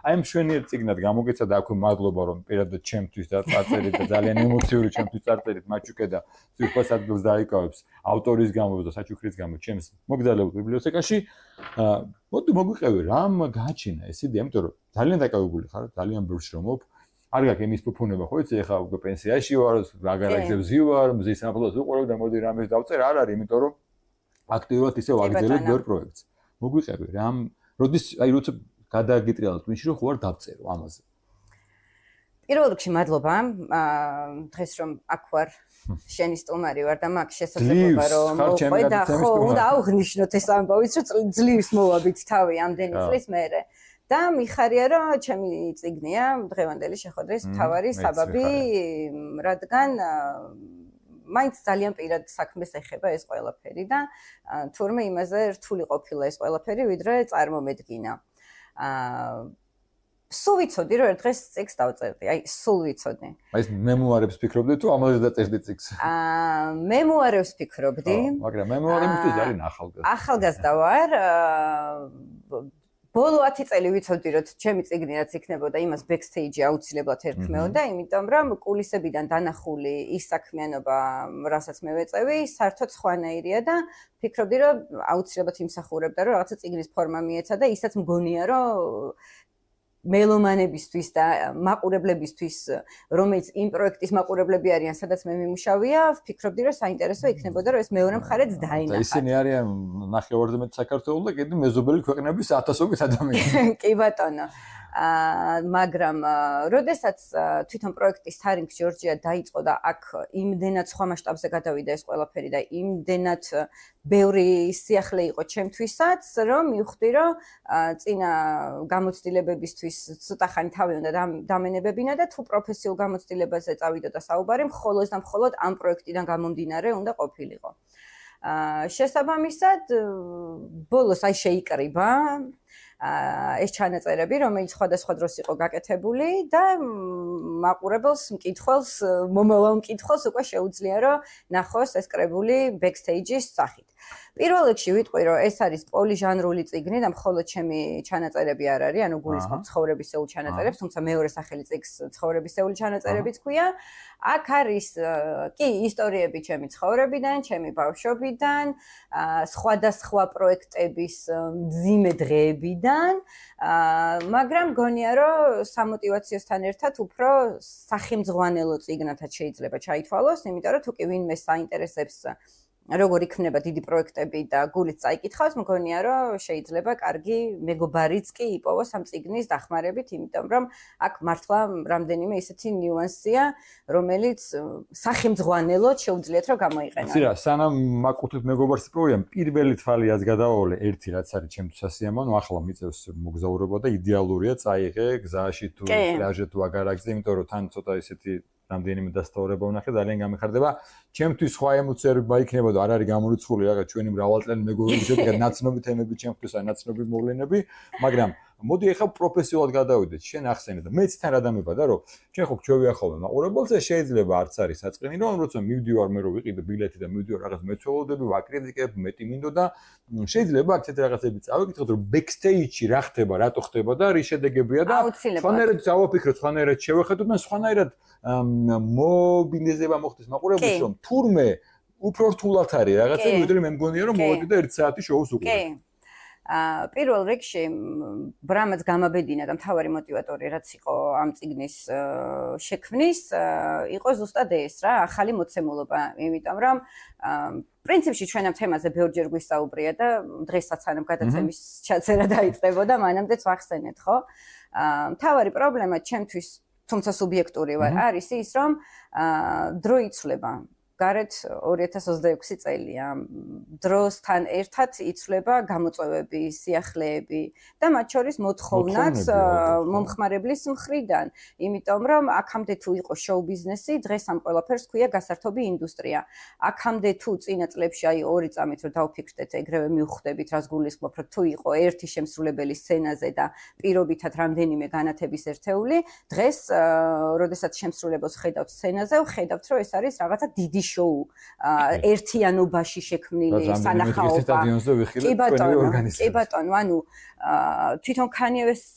აი მშვენიერ წიგნად გამოგეცა და აქვე მადლობა რომ პირადად ჩემთვის და წარწერით და ძალიან ემოციური ჩემთვის წარწერით მაჩუკე და სიყვარს ადგილს დაიკავებს ავტორის გამო და საჩუქრის გამო ჩემს მოგზაურობ ბიბლიოთეკაში მოდი მოგვიყევი რამ გააჩინა ეს იდეა იმიტომ რომ ძალიან დაკავებული ხარ ძალიან ბევრს შრომობ არ გაქვს იმის ფუფუნება ხო იცი ეხლა უკვე პენსიაში ვარ აგარაგზებზე ვარ მზის სამფლოს უყურებ და მოდი რამეს დავწერ არ არის იმიტომ რომ აქტიურად ისე ვაგრძელებ ბევრ პროექტს მოგვიყევი რამ როდის აი როცა გადაგიტრიალებ მის რომ ხო არ დავწერო ამაზე პირველ რიგში მადლობა დღეს რომ აქ ვარ შენი სტუმარი ვარ და მაგ შესაძლებლობა რომ მოყვე და ხო უნდა აღვნიშნოთ ეს ამბავიც რომ ძლივს მოვაბით თავი ამდენი წლის მერე და მიხარია რომ ჩემი წიგნია დღევანდელი შეხვედრის მთავარი საბაბი რადგან მაინც ძალიან პირად საქმეს ეხება ეს ყველაფერი და თურმე იმაზე რთული ყოფილა ეს ყველაფერი ვიდრე წარმომედგინა სულ ვიცოდი რომ ერთ დღეს წიგნს დავწერდი აი სულ ვიცოდი აი ეს მემუარებს ფიქრობდი თუ ამაზე დაწერდი წიგნს მემუარებს ფიქრობდი მაგრამ მემუარებისთვის არის ახალგაზრდა ვარ ბოლო 10 წელი ვიცოდი რომ ჩემი წიგნი რაც იქნებოდა იმას ბექსტეიჯი აუცილებლად ერქმეოდა იმიტომ რომ კულისებიდან დანახული ის საქმიანობა რასაც მე ვეწევი საერთოდ სხვანაირია და ფიქრობდი რომ აუცილებლად იმსახურებდა რომ რაღაცა წიგნის ფორმა მიეცა და ისაც მგონია რომ მელომანებისთვის და მაყურებლებისთვის რომელიც იმ პროექტის მაყურებლები არიან სადაც მე მიმუშავია ვფიქრობდი რომ საინტერესო იქნებოდა რომ ეს მეორე მხარეც დაინახა ისინი არიან ნახევარზე მეტ საქართველოს და კიდე მეზობელი ქვეყნების ათასობით ადამიანი კი ბატონო მაგრამ როდესაც თვითონ პროექტის თარინგ ჯორჯია დაიწყო და აქ იმდენად სხვა მასშტაბზე გადავიდა ეს ყველაფერი და იმდენად ბევრი სიახლე იყო ჩემთვისაც რომ მივხვდი რომ წინა გამოცდილებებისთვის ცოტა ხანი თავი უნდა დამენებებინა და თუ პროფესიულ გამოცდილებაზე წავიდოდა საუბარი მხოლოდ და მხოლოდ ამ პროექტიდან გამომდინარე უნდა ყოფილიყო შესაბამისად ბოლოს აი შეიკრიბა ეს ჩანაწერები რომელიც სხვადასხვა დროს იყო გაკეთებული და მაყურებელს მკითხველს მომავალ მკითხველს უკვე შეუძლია რომ ნახოს ეს კრებული ბექსტეიჯის სახით პირველ რიგში ვიტყვი რომ ეს არის პოლიჟანრული წიგნი და მხოლოდ ჩემი ჩანაწერები არ არის ანუ გულისხმობ ცხოვრებისეულ ჩანაწერებს თუმცა მეორე სახელი წიგნს ცხოვრებისეული ჩანაწერებიც ქვია აქ არის კი ისტორიები ჩემი ცხოვრებიდან ჩემი ბავშვობიდან სხვადასხვა პროექტების მძიმე დღეებიდან მაგრამ გონია რომ სამოტივაციოსთან ერთად უფრო სახემძღვანელო წიგნათაც შეიძლება ჩაითვალოს იმიტომ რომ თუ კი ვინმე საინტერესებს როგორ იქნება დიდი პროექტები და გულით წაიკითხავს, მგონია რომ შეიძლება კარგი მეგობარიც კი იპოვოს ამ წიგნის დახმარებით, იმიტომ რომ აქ მართლა რამდენიმე ისეთი ნიუანსია, რომელიც სახემძღვანელოდ შეუძლიათ რომ გამოიყენოს. იცი რა, სანამ მაკუთებ მეგობარს იპოვიან, პირველი თვალიაც გადავავლე ერთი რაც არის ჩემთვის სასიამოვნო, ახლა მიწევს მოგზაურობა და იდეალურია წაიღე გზაში თუ პლაჟზე თუ აგარაკზე, იმიტომ რომ თან ცოტა ისეთი რამდენიმე დასტაურება ვნახე ძალიან გამეხარდება. ჩემთვის სხვა ემოციები იქნებოდა, არ არის გამორიცხული რაღაც ჩვენი მრავალწლიანი მეგობრობის შედეგად ნაცნობი თემები ჩემთვის ან ნაცნობი მოვლენები, მაგრამ მოდი ახლა პროფესიულად გადავიდეთ. შენ ახსენე და მეც თან რა დამებადა, რომ ჩვენ ხო გვჩვევიახავენ მაყურებელს და შეიძლება არც არის საწყენი, რომ როცა მივდივარ მე რომ ვიყიდე ბილეთი და მივდივარ რაღაც მეცხოველდები, ვაკრიტიკებ, მეტი მინდოდა, შეიძლება აქ ცეთ რაღაცები წავიკითხოთ, რომ ბექსტეიჯში რა ხდება, რატო ხდება და რის შედეგებია და სხვანაირად დავაფიქროთ, სხვანაირად შევხედოთ და სხვანაირად მობილიზება მოხდეს მაყურებელს, რომ თურმე უფრო რთულად არის რაღაცა, ვიდრე მე მგონია რომ მოვედი და 1 საათი შოუს უყურებ. პირველ რიგში ბრამაც გამაბედინა და მთავარი мотиваტორი რაც იყო ამ წიგნის შექმნის იყო ზუსტად ეს რა ახალი მოცემულობა იმიტომ რომ პრინციპში ჩვენ ამ თემაზე ბევრჯერ გვისაუბრია და დღესაც სანამ გადაცემის ჩაწერა დაიწყებოდა მანამდეც ვახსენეთ ხო მთავარი პრობლემა ჩემთვის თუმცა სუბიექტური ვარ არის ის რომ დრო იცვლება გარეთ 2026 წელია. დროსთან ერთად იცვლება გამოწვევები, სიახლეები და მათ შორის მოთხოვნაც მომხმარებლის მხრიდან. იმიტომ რომ აქამდე თუ იყო შოუ ბიზნესი, დღეს ამ ყველაფერს ქვია გასართობი ინდუსტრია. აქამდე თუ წინა წლებში აი 2 წამით რომ დავფიქრდეთ, ეგრევე მივხვდებით, რას გულისხმობ, რომ თუ იყო ერთი შემსრულებელი სცენაზე და პირობითად რამდენიმე განათების ერთეული, დღეს, როდესაც შემსრულებელს ხედავთ სცენაზე, ვხედავთ, რომ ეს არის რაღაცა დიდი შოუ ერთიანობაში შექმნილი სანახაობა. კი ბატონო, ანუ თვითონ Kanye West-საც